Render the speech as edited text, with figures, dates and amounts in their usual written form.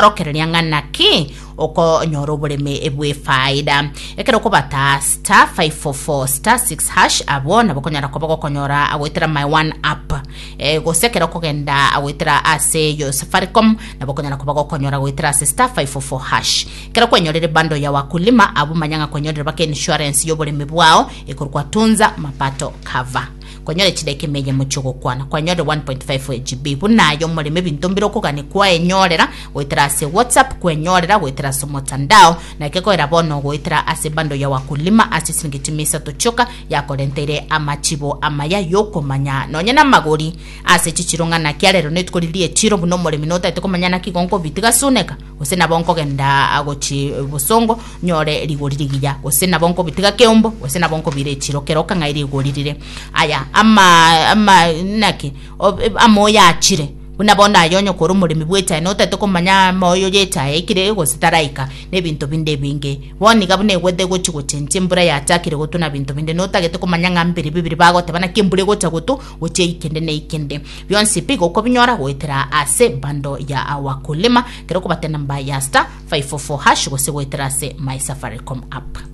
Rokereria ng'a naki okonyora oboremi bw'efaida. Ekero okobata *544*6# abwo nabo okonyara koba gokonyora goetera My One app. Eh, gose ekero okogenda goetera ase yo Safaricom nabo okonyara koba gokonyora goetera ase *544#. Ekero kwenyorire bundle ya Wakulima abwo manya ng'a kwenyorire baka insurance y'oboremi bwao ekorokwa Tunza Mapato Cover. Kwanyorire chidaeka emeyemo chi'ogokwana, kwanyorire 1.5 GB. Buna aye omoremi ebinto mbire okogania kwaenyorera goetera ase WhatsApp, kwenyorera goetera ase omotandao, na gekoera bono goetera ase bundle ya Wakulima ase esiringi chimia isato chioka yakorenteire amachibo amaya y'okomanya nonye namagori ase chichiro ng'a naki arero netuko riria ri'echiro buna omoremi notagete komanya naki igo nkobitiga suneka gose nabo nkogenda gochi bosongo nyore rigori rigiya, gose nabo nkobitiga keumbu, gose nabo nkobira echiro kero okang'ai rigori rire. Aya ama ama naki amoyo achire buna bono aye onye kore omoremi bw'echae notagete komanya amoyo y'echae aikire gose taraika na ebinto binde ebinge. Bono iga buna egwete egochi gochenchia embura yachakire gotwa na binto binde notagete komanya ng'a mbiri bibiri bagoteba naki embura egocha gotwa gochia eikende na eikende. Bionsi pi gokobinyora goetera ase bundle ya Wakulima kero okobata enamba ya star 544 hash gose goetera ase My Safaricom app.